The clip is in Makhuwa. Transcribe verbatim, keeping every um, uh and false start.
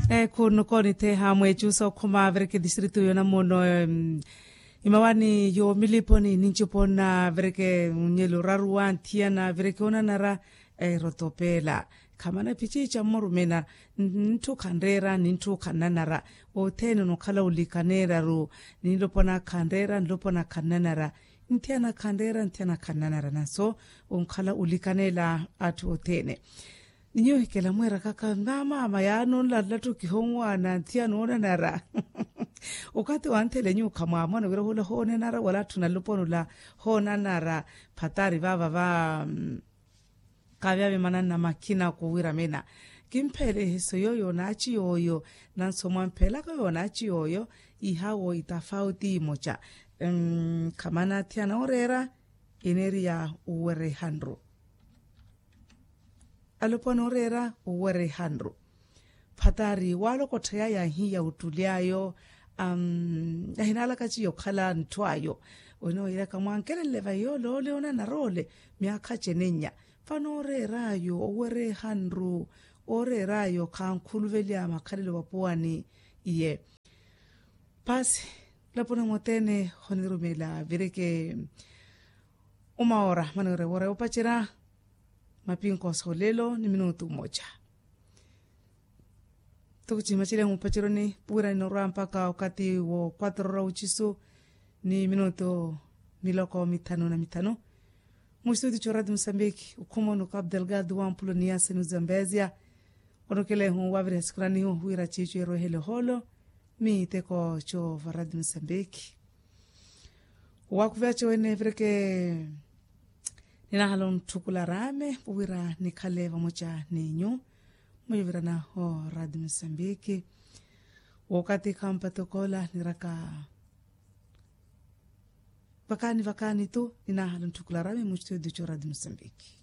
Ekhunnuko nitheha mweechusa okhuma avireke distritu yonamono. Imawani yo miliponi ninchipona avireke nyelo oraruwa nthiyana avireke onanara. Erotopela khamana phichicha mmorumena. Ninthu khanreera ninthu khannanara. Othene onokhala olikaneeraru. Ninlopona khanreera nlopona khannanara. Nthiyana khanreera nthiyana khannanara nanso onkhala olikaneela atthu othene. Ninyo ohikela mweerakaka mamaama yaani onlalattu kihonwaana nthiyana onanara. Okathi wanthele nyuwo khamwamona wira hula hoonanara wala atthu naluponi ula hoonanara. Phatari vaava va kaavyaavya mananna makhinako wiramena. Kimpheele eheso yooyo naachi yooyo nanso mwamphela kayo naachi yooyo. Ihawo itafauti imocha. Khamana athiyana oreera eneriya uwerehanru. Alopwana oreera owerehanru. Phatari waalokottha yaya ahiya ottuly'ayo. Ahinaalaka chiyo okhala ntthu ayo. Wene oyiraka mwankelenle vayi yoole ole onanara ole myaakha acenennya. Vano oreer'ayo owerehanru. Oreer'ayo khankhuluvelya makhalelo vapuwani. Iye paasi. Lapuna motene honirumela vireke. Uma ora mani ore wora yopacerya. Mapinkoso lelo ni minutu mmoja. Tukuchimachile mupaceroni puwira ninorwa mpaka wakati wo kwatro ra uchisu ni minutu miloko mithanu na mithanu. Mu studio cho radio mosambiki ukhuma onuka abdelgado wampulo ni yaseni uzambezia. Onukelehu waviriha sikuranihu wira chicho erwehele holo. Miteko cho va radio mosambiki. Wakuveya cho wene vireke. Ninahala ontthukula raame wira nikhale vamoca n'enyu. Mwivirana o radio mosambiki. Wokati khampatokoola niraka. Vakaani vakaani tu ninahala ontthukula raame mu studio cho radio mosambiki.